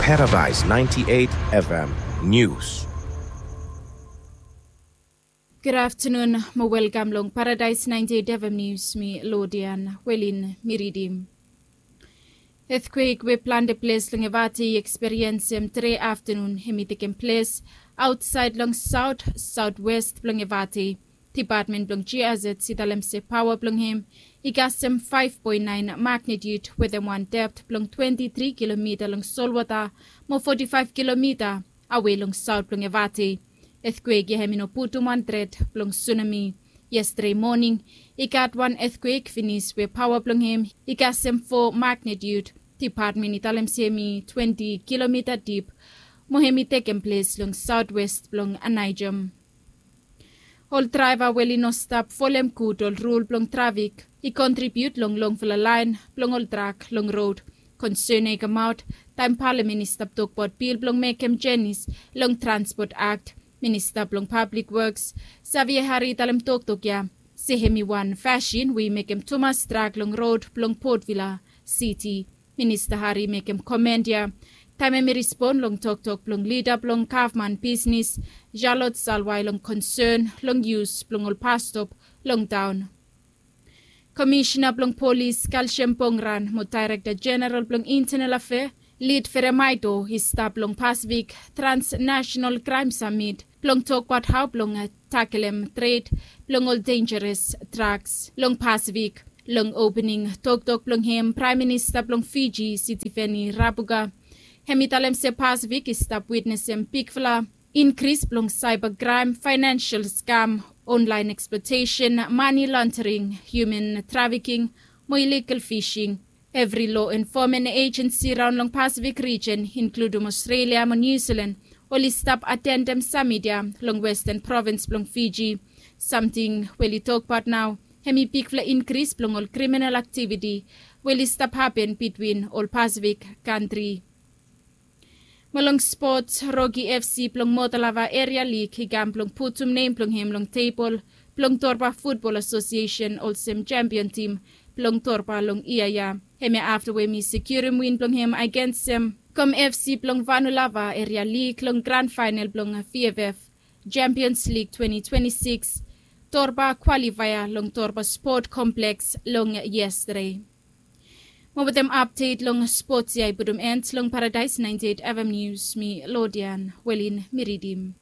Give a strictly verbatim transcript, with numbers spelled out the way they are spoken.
Paradise ninety-eight F M News. Gud aftenun mo welkam long Paradise ninety-eight F M News, mi Lodian Welin mi ridim. Etkwek we plante ples long Evate i eksperiensem tre aftenun hem i tekem ples aotsaed long saot, saotwes blong Evate. Depatmen blong G I Z i talem se paoa blong hem i kasem faef poen naen magnitiud wetem wan dept blong twenti tri kilomita long solwota mo foti faef kilomita awe long saot blong Evate. Etkwek ya hem i no putum wan tret blong sunami. Yestede moning i gat wan etkwek finis we paoa blong hem i kasem fo magnitiud. Depatmen i talem se hem i twenti kilomita dip mo hem i tekem ples long saotwes blong Aneijem. Ol draeva we oli no stap folem gud ol rul blong trafik i kontribiut long longfala laen blong ol trak long rod. Konsen ya i kamaot taem palamen i stap tokbaot bil blong mekem jenis long Transport Act. Minista blong Pablik Woks, Xavier Hari, i talem toktok ya se hem i wan fasin we i mekem tumas trak long rod blong Port Vila Siti. Minista Hari i mekem komen ya taem hem i rispon long toktok blong lida blong gavman bisnis, Charlotte Salwai, long konsen long yus blong ol bastop long taon. Komisina blong Polis, Kalshem Pongran, mo Daerekta Jeneral blong Intenal Afea, Lid Feremaito, i stap long Pasifik Transnational Kraem Samit blong tokbaot hao blong takelem tred blong ol denjeres draks long Pasifik. Long opening toktok blong hem, Praem Minista blong Fiji, Sitiveni Rabuka, hem i talem se Pasifik i stap witnesem bigfala inkris blong saeba kraem, faenensel skam, onlaen eksplotesen, mane londering, hiuman trafiking mo iligal fising. Evri loa enfomen ejensi raon long Pasifik rijen, inkludum Aostralia mo Niu Silan, oli stap atendem samit ya long westen provins blong Fiji. Samting we oli tokbaot nao hem i bigfala inkris blong ol kriminal aktiviti we oli stap hapen bitwin ol Pasifik kantri. Mo long spots, Roki F C blong Motalava Eria Lig i kam blong putum nem blong hem long tebol blong Torba Futbol Asosiesen olsem sempion tim blong Torba long yia ya. Hemia afta we hem i sekiurim win blong hem agensem Kom F C blong Vanulava Eria Lig long gran faenal blong V F F Champions League twenty twenty-six Torba kwalifaea long Torba Sport Kompleks long yestade. Mo wetem apdet long spots ya i putum en long Paradaes ninety-eight F M News, mi Lodian Welin mi ridim.